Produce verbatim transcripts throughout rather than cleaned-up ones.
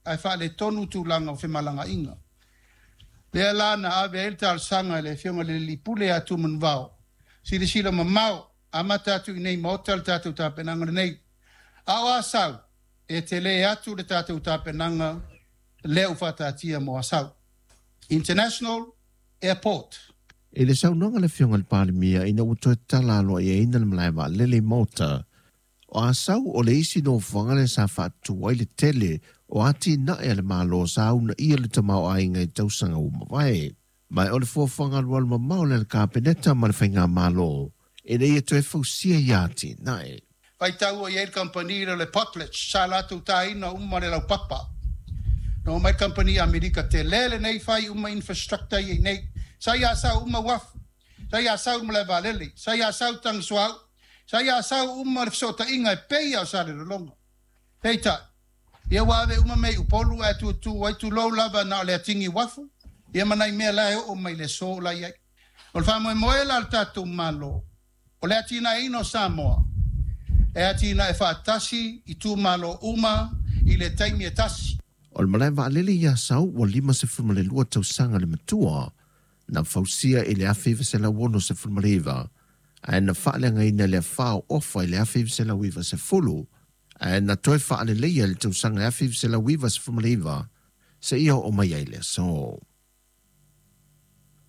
Ae faaletonu tulaga o femalagaaiga. Lea la na ave ai le talosaga i le Afioga i le Alii Pule ia Tumanuvao, silasila mamao, amata atu i nei Maota le tatou tapenaga lenei. A o Asau, e tele atu le tatou tapenaga lea ua faataatia mo Asau. International Airport. I le saunoaga a le Afioga i le Palemia ina ua toe tatala aloaiaina le malae vaalele i Malta, o Asau o le isi nofoaga lea sa faatutu ai le tele o atinae a le Malo sa uunaia le tamaoaiga i tausaga ua mavae. Ma o le fuafuaga alualu mamao lea a le Kapeneta ma le Faigamalo ina ia toe fausia ia atinae. Faitau i ai le kamupani lea o le Potlatch, sa latou taina uma le laupapa. Na omai le kamupani Amerika tele lenei fai uma infrastructure ia i nei. Sa i Asau uma uafu, sa i Asau le malae vaalele, sa i Asau tagisuau, sa i Asau uma le fesootaiga e pei lava o Salelologa. Peitai, ia ua ave uma mea i Upolu ae tutu ai tulou lava na o le atigi uafu, ia ma nai mea la e oo mai le aso la i ai. O le faamoemoe la o le tatou Malo, o le atinaeina o Samoa, e atinae faatasi itumalo uma i le taimi e tasi. O le malae vaalele i Asau ua lima sefulu ma le lua tausaga le matua, na fausia i le afe iva selau ono sefulu ma le iva, ae na faaleagaina i le afa o Ofa i le afe iva selau iva sefulu, ae na toe faaleleia i le tausaga afe iva selau iva sefulu ma le iva, seia oo mai ai le aso.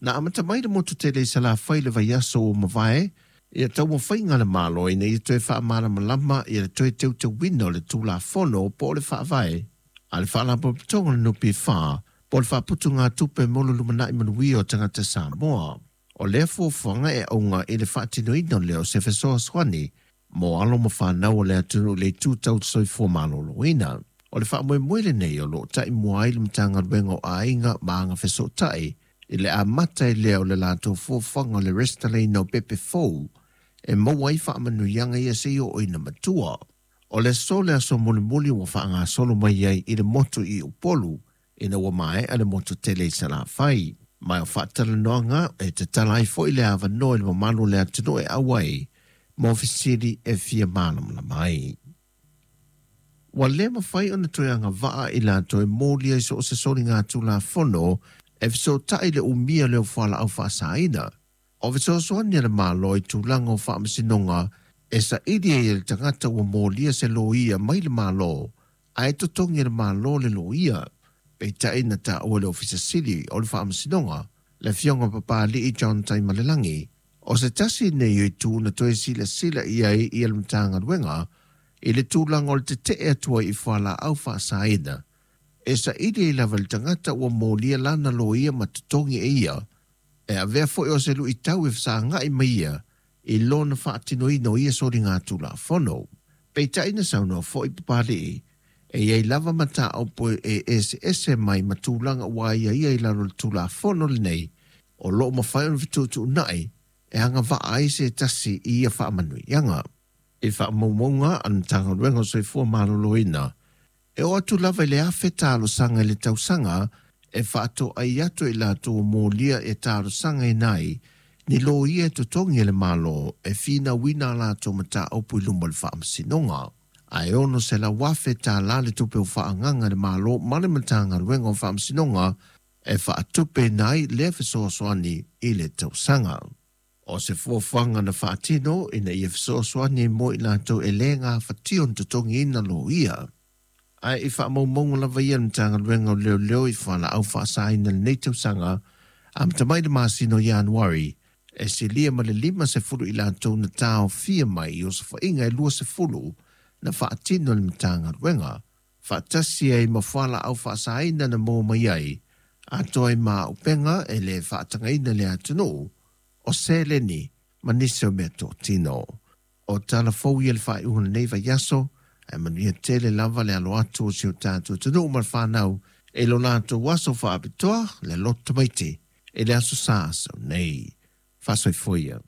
Na amata mai le motu tele i Salafai i le vaiaso ua mavae, ia taumafaiga a le Malo ina ia toe faamalamalama ia le toe teuteuina o le Tulafono po o le Faavae a le Faalapotopotoga o le N P F po o le Faaputugatupe mo le Lumanai Manuia o Tagata Samoa. O lea fuafuaga e auga i le faatinoina lea o se fesoasoani mo alo ma fanau o le atunuu i le itu tau soifua maloloina. O le faamoemoe lenei o loo taimua ai le Matagaluega o Aiga ma Agafesootai i le amata ai lea o le latou fuafuaga o le resitalaina o pepe fou e maua ai faamanuiaga ia seia oo ina matua. O le aso le aso mulimuli ua faagasolo mai ai i le motu i Upolu ina ua maea le motu tele i Salafai. Ma o faatalanoaga e tatala ai foi le avanoa i le mamalu o le atunuu e auai mo fesili e fia malamalama ai. Ua le mafai ona toe agavaa i latou e molia i so o se soliga Tulafono e fesootai le umia lea o fualaau faasaina. O fesoasoani a le Malo i tulaga o faamasinoga e saili ai e le tagata ua molia se loia mai le Malo, ae totogi e le Malo le loia. Peitai na taua e le Ofisa Sili o le Faamasinoga, le Afioga Papali'i John Taimalelagi, o se tasi nei o itu na toe silasila i ai ia le Matagaluega i le tulaga o le tetee atu ai i fualaau faasaina. E saili ai lava le tagata ua molia lana loia ma totogi e ia, e avea foi o se luitau e fesagai mai ia i lona faatinoina o ia soliga Tulafono. Peitai na saunoa foi Papali'i, e iai lava mataupu e eseese mai ma tulaga ua aiaia i lalo o le Tulafono lenei, o loo mafai ona fetuutuunai e agavaa ai se tasi i ia faamanuiaga. I faamaumauga a le Matagaluega o Soifua Maloloina, e oo atu lava i le afe talosaga i le tausaga e faatoai atu i latou ua molia e talosagaina ai ni loia e totogi e le Malo e finauina a latou mataupu i luma o le Faamasinoga. Ae ono selau afe tālā le tupe o faaagaga e le Malo ma le Matagaluega o Faamasinoga e faatupeina ai lea fesoasoani i le tausaga. O se fuafuaga na faatino ina ia fesoasoani mo i latou e le gafatia ona totogiina loia. Ae i faamaumauga lava ia le Matagaluega o Leoleo i fualaau faasaina lenei tausaga, amata mai le masina o Ianuari, e silia ma le lima sefulu i latou na taofia mai i osofaiga e lua sefulu na faatino e le Matagaluega, faatasi ai ma fualaau faasaina na maua mai ai, atoa ai ma auupega e le faatagaina le atunuu, o seleni ma nisi o mea totino. O tala fou ia le faaiuga o lenei vaiaso, ae manuia tele lava le alo atu o si o tatou atunuu ma le fanau e lo latou aso faapitoa le loto tamaiti i le aso Sa asau nei. Faasoifua ia.